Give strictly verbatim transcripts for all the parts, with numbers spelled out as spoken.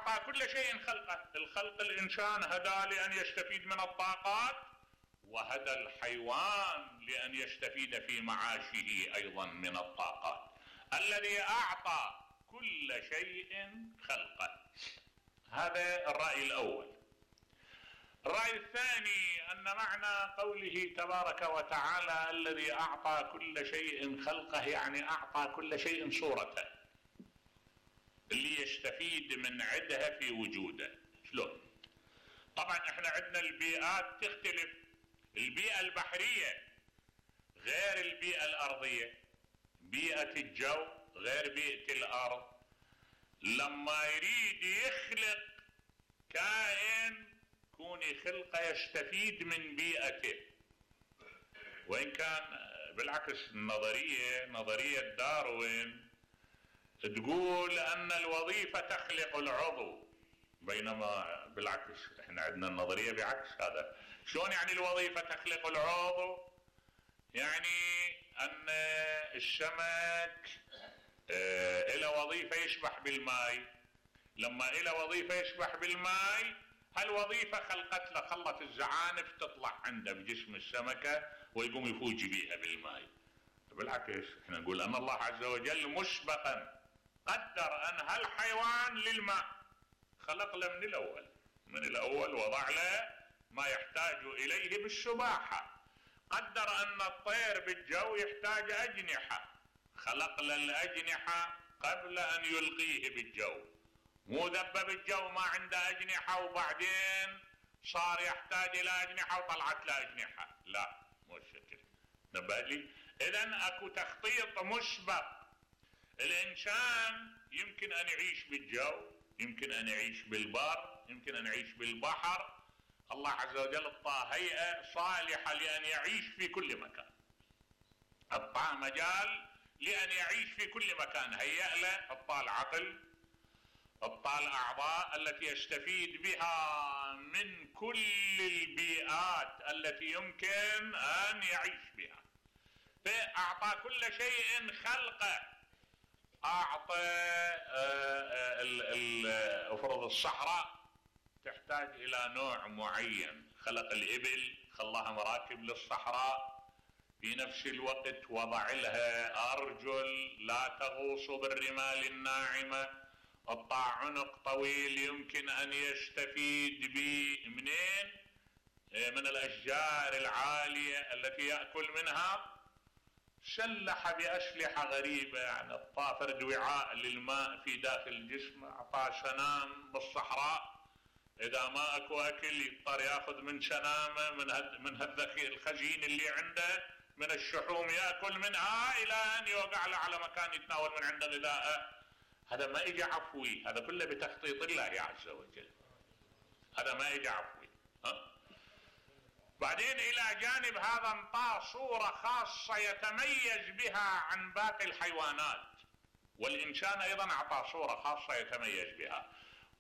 أعطى كل شيء خلقه. الخلق الإنسان هدى لأن يستفيد من الطاقات، وهدى الحيوان لأن يستفيد في معاشه أيضا من الطاقات. الذي أعطى كل شيء خلقه. هذا الرأي الأول. الرأي الثاني أن معنى قوله تبارك وتعالى الذي أعطى كل شيء خلقه يعني أعطى كل شيء صورته اللي يستفيد من عدها في وجوده. شلون؟ طبعا احنا عندنا البيئات تختلف. البيئة البحرية غير البيئة الأرضية، بيئة الجو غير بيئة الأرض. لما يريد يخلق كائن كوني خلقه يستفيد من بيئته، وإن كان بالعكس النظرية نظرية داروين تقول أن الوظيفة تخلق العضو، بينما بالعكس احنا عندنا النظرية بعكس هذا. شلون يعني الوظيفة تخلق العضو؟ يعني أن السمك اه له وظيفة يسبح بالماء. لما له وظيفة يسبح بالماء هالوظيفة خلقت له خلت الزعانف تطلع عنده بجسم السمكة ويقوم يفوج بيها بالماء. بالعكس احنا نقول أن الله عز وجل مسبقا قدر أن هالحيوان للماء، خلق له من الأول من الأول وضع له ما يحتاج إليه بالسباحة. قدر أن الطير بالجو يحتاج أجنحة، خلق له الأجنحة قبل أن يلقيه بالجو. مو ذب بالجو ما عنده أجنحة وبعدين صار يحتاج إلى أجنحة وطلعت له أجنحة، لا مو الشكل. نبه لي إذن أكو تخطيط مسبق. الإنسان يمكن أن يعيش بالجو، يمكن أن يعيش بالبر، يمكن أن يعيش بالبحر. الله عز وجل اعطاه هيئة صالحة لأن يعيش في كل مكان، اعطاه مجال لأن يعيش في كل مكان، هيأ له اعطاه العقل، اعطاه الأعضاء التي يستفيد بها من كل البيئات التي يمكن أن يعيش بها. فأعطى كل شيء خلقه. أعطى افرض الصحراء تحتاج إلى نوع معين، خلق الإبل خلاها مراكب للصحراء، في نفس الوقت وضع لها أرجل لا تغوص بالرمال الناعمة، قطع عنق طويل يمكن أن يستفيد به منين؟ من الأشجار العالية التي يأكل منها. سلح بأسلحة غريبة، يعني اعطاه فرد وعاء للماء في داخل الجسم، اعطاه سنام بالصحراء اذا ما اكو اكل يضطر ياخذ من سنامه من هد من هالذخير الخزين اللي عنده من الشحوم ياكل منها الى ان يوقع له على مكان يتناول من عنده غذاءه. هذا ما اجى عفوي، هذا كله بتخطيط الله عز وجل، هذا ما اجى عفوي. ها بعدين الى جانب هذا انطاه صورة خاصة يتميز بها عن باقي الحيوانات، والانسان ايضا اعطاه صورة خاصة يتميز بها.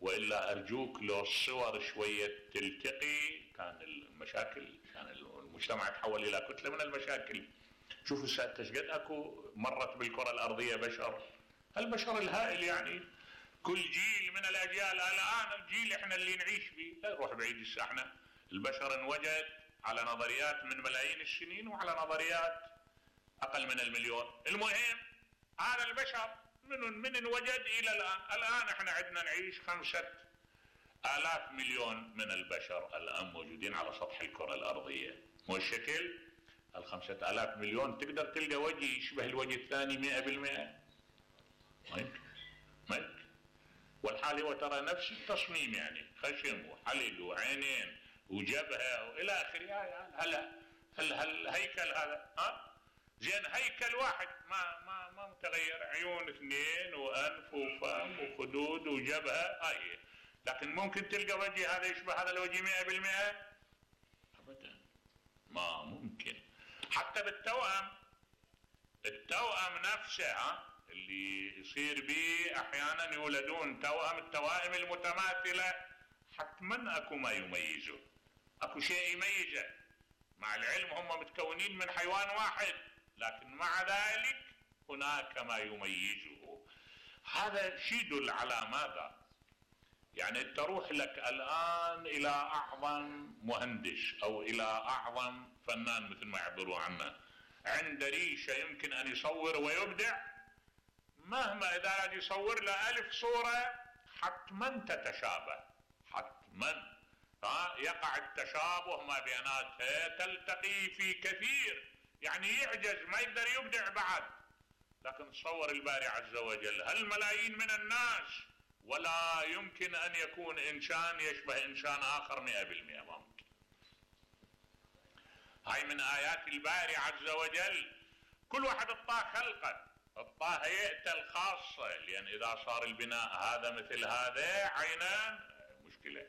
والا ارجوك لو الصور شوية تلتقي كان المشاكل، كان المجتمع تحول الى كتلة من المشاكل. شوفوا سادة قد اكو مرت بالكرة الارضية بشر، البشر الهائل يعني كل جيل من الاجيال. الان الجيل احنا اللي نعيش فيه لا يروح بعيد الساحنا، البشر انوجد على نظريات من ملايين السنين وعلى نظريات اقل من المليون. المهم هذا البشر من من انوجد الى الان. الان احنا عندنا نعيش خمسة الاف مليون من البشر الان موجودين على سطح الكرة الارضية. مو الشكل الخمسة الاف مليون تقدر تلقى وجه يشبه الوجه الثاني مئة بالمئة؟ ما يمكن ما يمكن. والحال هو ترى نفس التصميم، يعني خشم وحلق وعينين وجبهه والى اخره. هلا هل هل هيكل هذا ها زين هيكل واحد ما ما ما متغير، عيون اثنين وانف وفم وخدود وجبهه هاي، لكن ممكن تلقى وجه هذا يشبه هذا الوجه مئة بالمئة؟ ابدا ما ممكن. حتى بالتوأم، التوأم نفسه ها اللي يصير به احيانا يولدون توأم، التوائم المتماثله حتما اكو ما يميزه، اكو شيء يميزه. مع العلم هم متكونين من حيوان واحد، لكن مع ذلك هناك ما يميزه. هذا شيء يدل على ماذا؟ يعني تروح لك الآن إلى أعظم مهندس أو إلى أعظم فنان مثل ما يعبروا عنه، عند ريشة يمكن أن يصور ويبدع، مهما إذا قاعد يصور له ألف صورة حتما تتشابه، حتما ها يقع التشابه ما بيناتها، تلتقي في كثير، يعني يعجز ما يقدر يبدع بعد. لكن تصور الباري عز وجل هالملايين من الناس ولا يمكن أن يكون إنسان يشبه إنسان آخر مئة بالمئة، ما ممكن. هاي من آيات الباري عز وجل. كل واحد اعطاه خلقه، اعطاه هيئته الخاصة، لأن إذا صار البناء هذا مثل هذا عينان مشكلة،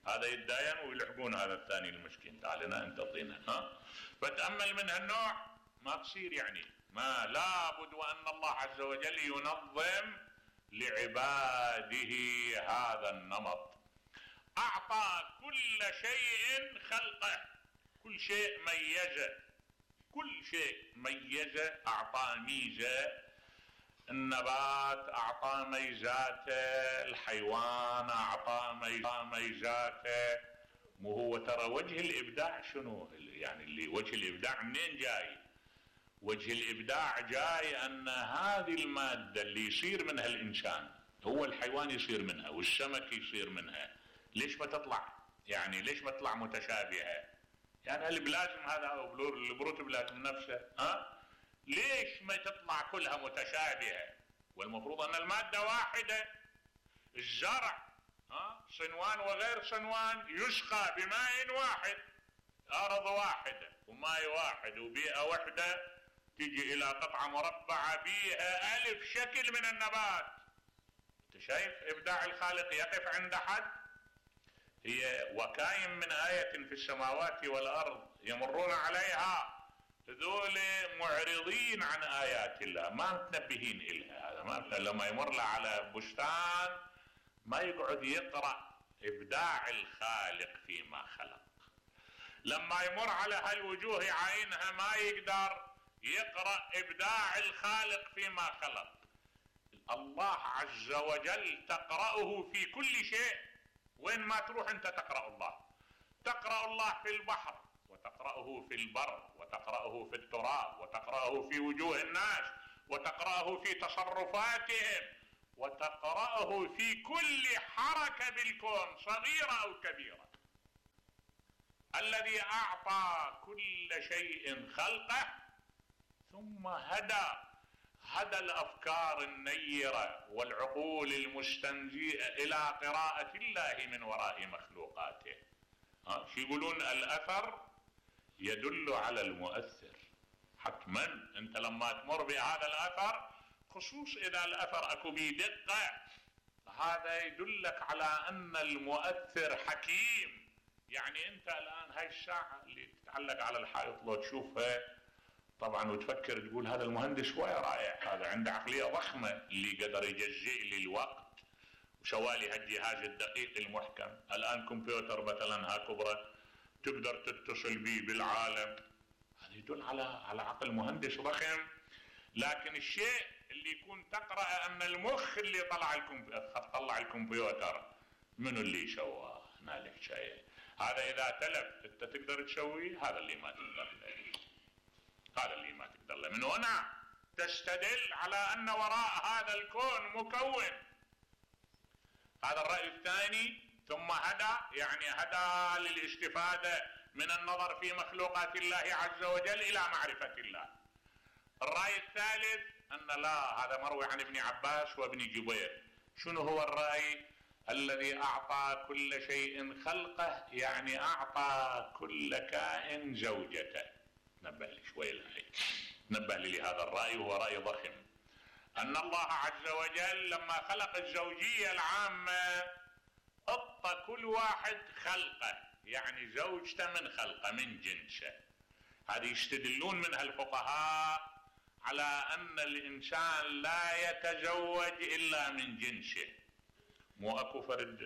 هذا يتداين ويلحقون هذا الثاني المسكين، تعال هنا انت اعطينا، ها فتأمل من هالنوع ما تصير، يعني ما لابد وأن الله عز وجل ينظم لعباده هذا النمط. أعطى كل شيء خلقه، كل شيء ميزه، كل شيء ميزه، أعطى ميزة. النبات أعطى ميزاته، الحيوان أعطى ميزاته. مو هو ترى وجه الإبداع شنو؟ يعني اللي وجه الإبداع منين جاي؟ وجه الإبداع جاي أن هذه المادة اللي يصير منها الإنسان هو الحيوان يصير منها والسمك يصير منها، ليش ما تطلع؟ يعني ليش ما تطلع متشابهة؟ يعني البلازم هذا أو البروتوبلازم نفسه، ها؟ ليش ما تطلع كلها متشابهة؟ والمفروض أن المادة واحدة. الزرع ها صنوان وغير صنوان يسقى بماء واحد، أرض واحدة وماء واحد وبيئة واحدة، تيجي إلى قطعة مربعة بيها ألف شكل من النبات. أنت شايف إبداع الخالق يقف عند حد؟ هي وكاين من آية في السماوات والأرض يمرون عليها، هذول معرضين عن آيات الله، ما متنبهين إلها. هذا ما لما يمر له على بستان ما يقعد يقرأ إبداع الخالق فيما خلق، لما يمر على هالوجوه عينها ما يقدر يقرأ إبداع الخالق فيما خلق. الله عز وجل تقرأه في كل شيء، وين ما تروح أنت تقرأ الله. تقرأ الله في البحر، وتقرأه في البر، وتقرأه في التراب، وتقرأه في وجوه الناس، وتقرأه في تصرفاتهم، وتقرأه في كل حركة بالكون صغيرة أو كبيرة. الذي أعطى كل شيء خلقه ثم هدى هدى الأفكار النيرة والعقول المستنزئة إلى قراءة الله من وراء مخلوقاته. ها شو يقولون؟ الأثر يدل على المؤثر. حتما أنت لما تمر بهذا الأثر، خصوص إذا الأثر أكو بيه دقة، هذا يدلك على أن المؤثر حكيم. يعني أنت الآن هاي الساعة اللي تتعلق على الحائط لو تشوفها طبعا وتفكر تقول هذا المهندس هو رائع، هذا عنده عقلية ضخمة اللي قدر يجزئ لي الوقت وسوالي هالجهاز الدقيق المحكم. الآن كمبيوتر مثلا ها كبرى تقدر تتصل به بالعالم، هذا يدل على على عقل مهندس ضخم. لكن الشيء اللي يكون تقرأ أن المخ اللي طلع الكمبيوتر طلع الكمبيوتر منو اللي سواه؟ هنالك شيء. هذا إذا تلف أنت تقدر تسويه، هذا اللي ما تقدر له، هذا اللي ما تقدر له. من هنا تستدل على أن وراء هذا الكون مكون. هذا الرأي الثاني. ثم هدى يعني هدى للاستفادة من النظر في مخلوقات الله عز وجل إلى معرفة الله. الرأي الثالث أن لا، هذا مروي عن ابن عباس وابن جبير. شنو هو الرأي؟ الذي أعطى كل شيء خلقه يعني أعطى كل كائن زوجته. نبه لي شوي لهي، نبه لي لهذا الرأي وهو رأي ضخم. أن الله عز وجل لما خلق الزوجية العامة أعطى كل واحد خلقه، يعني زوجته من خلقه من جنسه. هذه يستدلون منها الفقهاء على أن الإنسان لا يتزوج إلا من جنسه. مو أكو فرد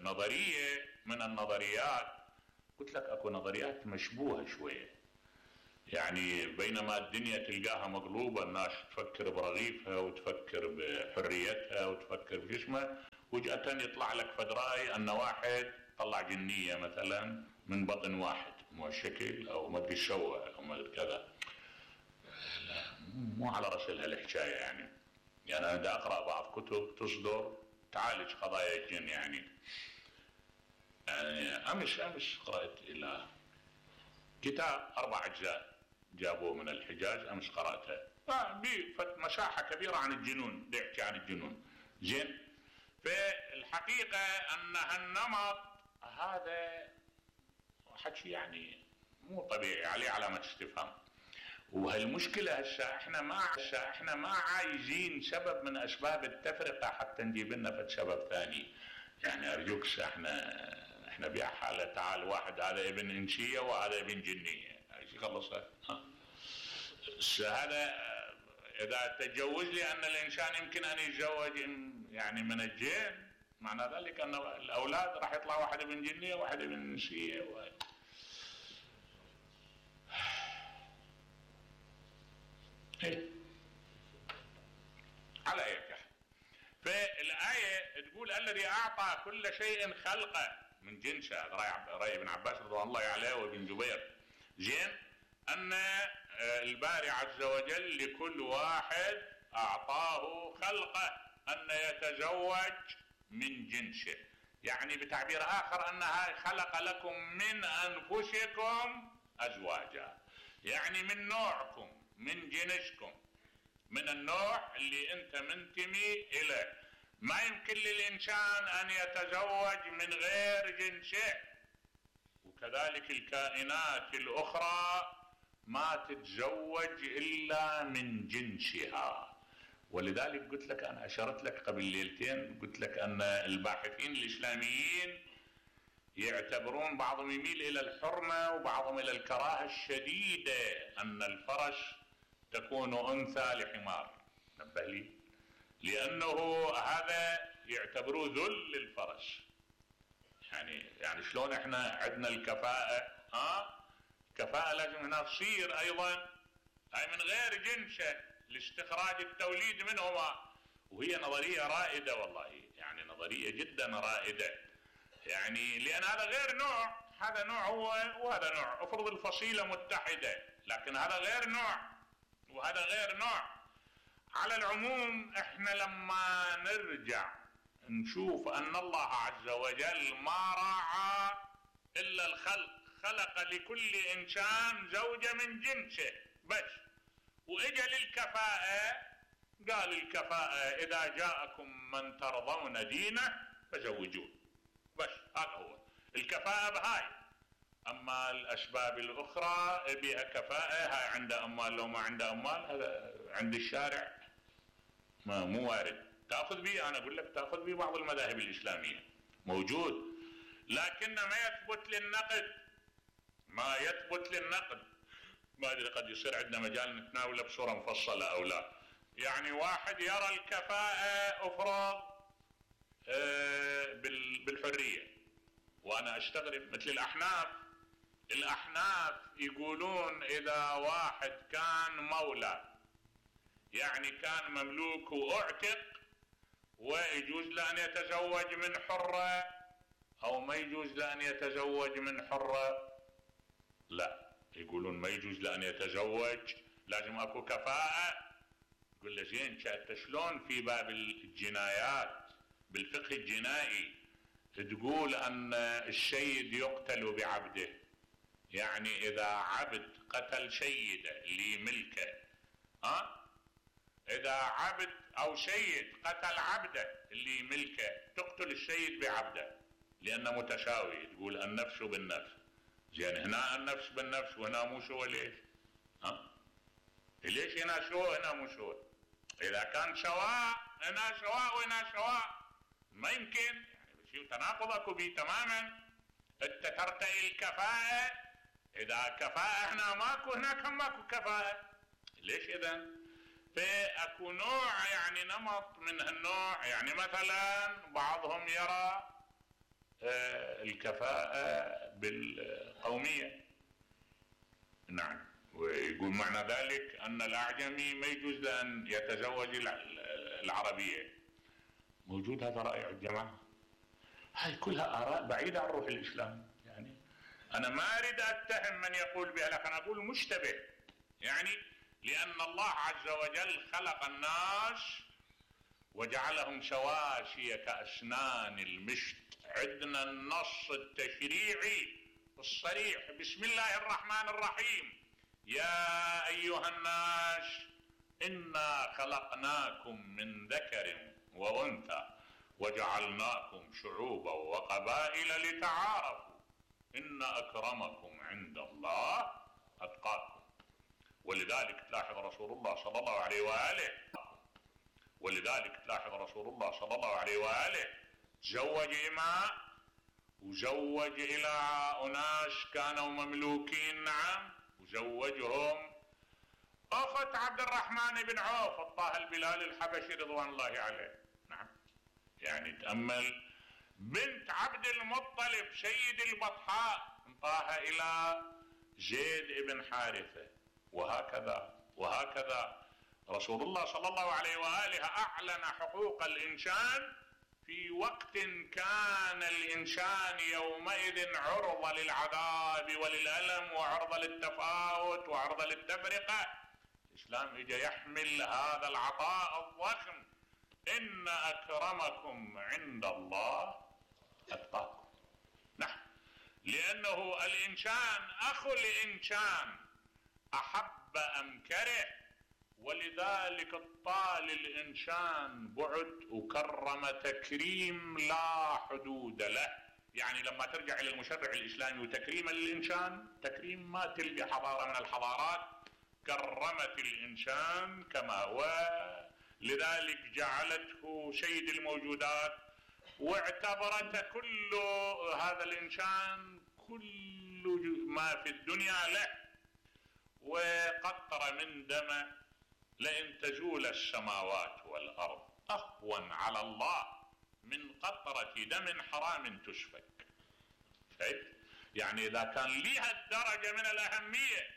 نظرية من النظريات، قلت لك أكو نظريات مشبوهة شوية، يعني بينما الدنيا تلقاها مقلوبة، الناس تفكر برغيفها وتفكر بحريتها وتفكر بجسمها، فجأة يطلع لك فد رأي ان واحد طلع جنية مثلا من بطن واحد، مو الشكل او ما ادري شو او ما ادري كذا. لا مو على رسل هالحكاية يعني. يعني انا دا اقرأ بعض كتب تصدر تعالج قضايا الجن يعني. يعني امس امس قرأت الى كتاب اربع اجزاء جابوه من الحجاز، امس قرأته بفت مساحة كبيرة عن الجنون، بيحكي عن الجنون. زين، فالحقيقة ان هالنمط هذا حكي يعني مو طبيعي، عليه علامة استفهام. وهالمشكلة هسه احنا ما هسه احنا ما عايزين سبب من اسباب التفرقة حتى نجيب لنا فد سبب ثاني. يعني ارجوك احنا احنا بحالة تعال واحد هذا ابن انسية وهذا ابن جنية، ايش خلصها؟ هذا اذا تجوز لي ان الانسان يمكن ان يتزوج يعني من الجن، معنى ذلك ان الاولاد راح يطلع واحد ابن جنية وواحد ابن انسية و... إيه؟ على اي حال، فالايه تقول الذي اعطى كل شيء خلقه من جنسه، هذا راي ابن عباس رضي الله عليه وابن جبير. زين، ان الباري عز وجل لكل واحد اعطاه خلقه ان يتزوج من جنسه، يعني بتعبير اخر انها خلق لكم من انفسكم ازواجا، يعني من نوعكم من جنسكم، من النوع اللي انت منتمي اليه. ما يمكن للانسان ان يتزوج من غير جنسه، وكذلك الكائنات الاخرى ما تتزوج الا من جنسها. ولذلك قلت لك انا اشرت لك قبل ليلتين، قلت لك ان الباحثين الاسلاميين يعتبرون بعضهم يميل الى الحرمه وبعضهم الى الكراهه الشديده ان الفرس تكون انثى لحمار. نبه لي، لانه هذا يعتبروه ذل للفرس. يعني يعني شلون احنا عندنا الكفاءه، ها كفاءه لازم هنا تصير ايضا هاي من غير جنسه لاستخراج التوليد منهما. وهي نظريه رائده والله، يعني نظريه جدا رائده، يعني لان هذا غير نوع، هذا نوع هو وهذا نوع، افرض الفصيله متحده لكن هذا غير نوع وهذا غير نوع. على العموم احنا لما نرجع نشوف ان الله عز وجل ما راعى الا الخلق، خلق لكل انسان زوجة من جنسه بس، واجا للكفاءة قال الكفاءة اذا جاءكم من ترضون دينه فزوجوه، بس هذا هو الكفاءة بهاي. اما الاسباب الاخرى بها كفاءة، هاي عنده اموال لو ما عنده اموال هذا عند الشارع ما مو وارد. تاخذ به، انا اقول لك تاخذ به بعض المذاهب الاسلاميه موجود، لكن ما يثبت للنقد، ما يثبت للنقد. ما ادري قد يصير عندنا مجال نتناوله بصوره مفصله او لا. يعني واحد يرى الكفاءه افرض بالحريه، وانا استغرب مثل الاحناف. الاحناف يقولون اذا واحد كان مولى، يعني كان مملوك واعتق، ويجوز له ان يتزوج من حرة او ما يجوز له ان يتزوج من حرة، لا يقولون ما يجوز له ان يتزوج، لازم اكو كفاءة. يقول له زين انت شلون في باب الجنايات بالفقه الجنائي تقول ان السيد يقتل بعبده؟ يعني اذا عبد قتل سيده اللي ملكه، ها اذا عبد او سيد قتل عبده اللي ملكه تقتل السيد بعبده لانه متساوي، تقول النفس بالنفس. زين هنا النفس بالنفس وهنا مو سوى، ليش؟ ها ليش هنا سوى هنا مو سوى؟ اذا كان سواء هنا سواء وهنا سواء ما يمكن، يعني شيء تناقض اكو بيه تماما. انت ترتقي الكفاءة، اذا كفاءة هنا ماكو هناك هم ماكو كفاءة، ليش اذا؟ فاكو نوع يعني نمط من هالنوع. يعني مثلا بعضهم يرى الكفاءة بالقومية، نعم، ويقول معنى ذلك ان الاعجمي ما يجوز له ان يتزوج العربية. موجود هذا رأي عند الجماعة؟ هاي كلها آراء بعيدة عن روح الإسلام. يعني أنا ما أريد أتهم من يقول بها، لكن أقول مشتبه. يعني لأن الله عز وجل خلق الناس وجعلهم سواسية كأسنان المشط. عندنا النص التشريعي الصريح: بسم الله الرحمن الرحيم، يا أيها الناس إنا خلقناكم من ذكر وأنثى وجعلناكم شعوبا وقبائل لتعارفوا إن أكرمكم عند الله أتقاكم. ولذلك تلاحظ رسول الله صلى الله عليه وآله ولذلك تلاحظ رسول الله صلى الله عليه وآله زوج إماء وزوج إلى أناس كانوا مملوكين، نعم، وزوجهم أخت عبد الرحمن بن عوف الطاهر البلال الحبشي رضوان الله عليه. نعم، يعني تأمل، بنت عبد المطلب سيد البطحاء انطاها إلى زيد بن حارثة، وهكذا وهكذا. رسول الله صلى الله عليه وآله أعلن حقوق الإنسان في وقت كان الإنسان يومئذ عرضة للعذاب وللألم وعرضة للتفاوت وعرضة للتفرقة. الإسلام إجا يحمل هذا العطاء الضخم: إن أكرمكم عند الله أتقاكم. نعم، لأنه الإنسان أخو الإنسان أحب أم كره، ولذلك الطال الإنسان بعد وكرم تكريم لا حدود له. يعني لما ترجع إلى المشرع الإسلامي وتكريم للإنسان تكريم ما تلقى حضارة من الحضارات كرمت الإنسان كما هو، لذلك جعلته سيد الموجودات واعتبرته كل هذا الإنسان كل ما في الدنيا له. وقطر من دمه لئن تزول السماوات والأرض أهون على الله من قطرة دم حرام تسفك. يعني إذا كان لها الدرجة من الأهمية،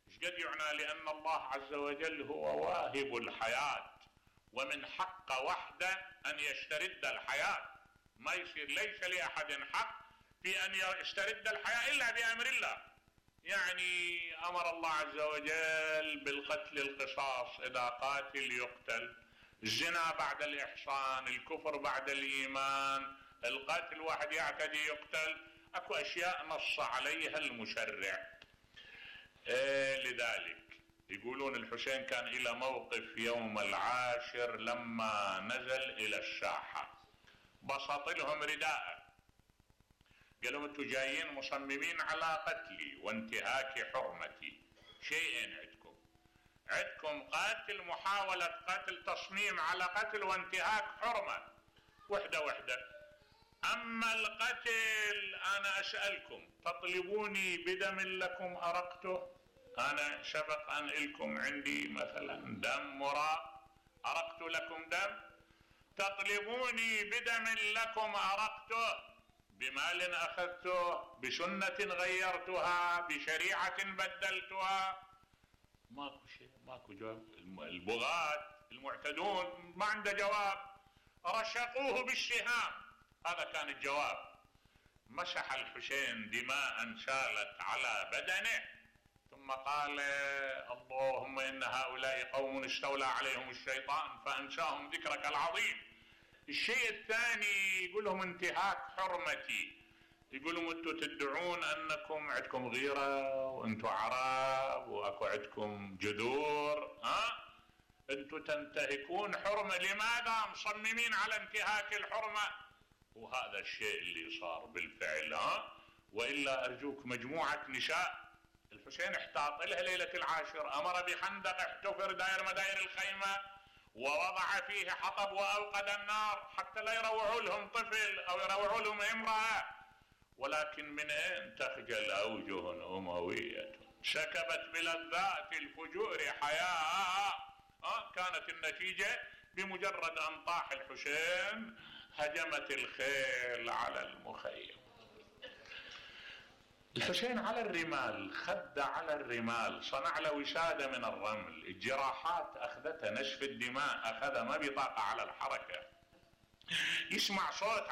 إيش قد يعنى؟ لأن الله عز وجل هو واهب الحياة، ومن حق وحده أن يسترد الحياة. ما يصير، ليس لأحد حق في أن يسترد الحياة إلا بأمر الله. يعني أمر الله عز وجل بالقتل القصاص، إذا قاتل يقتل، الزنا بعد الإحصان، الكفر بعد الإيمان، القتل واحد يعتدي يقتل. أكو أشياء نص عليها المشرع. إيه لذلك يقولون الحسين كان إلى موقف يوم العاشر لما نزل إلى الساحة، بسط لهم رداءه، قال لهم انتم جايين مصممين على قتلي وانتهاك حرمتي. شيئين عندكم، عندكم قتل، محاولة قتل، تصميم على قتل وانتهاك حرمة، وحدة وحدة. أما القتل أنا أسألكم، تطلبوني بدم لكم أرقته؟ أنا سبق أن إلكم عندي مثلا دم مراء أرقت لكم دم؟ تطلبوني بدم لكم أرقته؟ بمال أخذته؟ بسنة غيرتها؟ بشريعة بدلتها؟ ماكو شيء، ماكو جواب. البغاة المعتدون ما عنده جواب، رشقوه بالسهام، هذا كان الجواب. مسح الحسين دماء سالت على بدنه، ثم قال اللهم إن هؤلاء قوم استولى عليهم الشيطان فأنساهم ذكرك العظيم. الشيء الثاني يقول لهم انتهاك حرمتي، يقول لهم انتم تدعون انكم عندكم غيرة وانتم عرب واكو عندكم جذور، ها انتم تنتهكون حرمة، لماذا مصممين على انتهاك الحرمة؟ وهذا الشيء اللي صار بالفعل. ها وإلا أرجوك، مجموعة نساء الحسين احتاط لها ليلة العاشر، أمر بخندق احتفر داير مداير الخيمة ووضع فيه حطب وأوقد النار حتى لا يروعوا لهم طفل أو يروعوا لهم امرأة. ولكن من أين تخجل أوجه أموية سكبت بلذات الفجور حياء؟ أه كانت النتيجة بمجرد أن طاح الحسين هجمت الخيل على المخيم. الحسين على الرمال، خد على الرمال، صنع له وسادة من الرمل، الجراحات أخذتها، نشف الدماء أخذها، ما بيطاقة على الحركة. يسمع صوت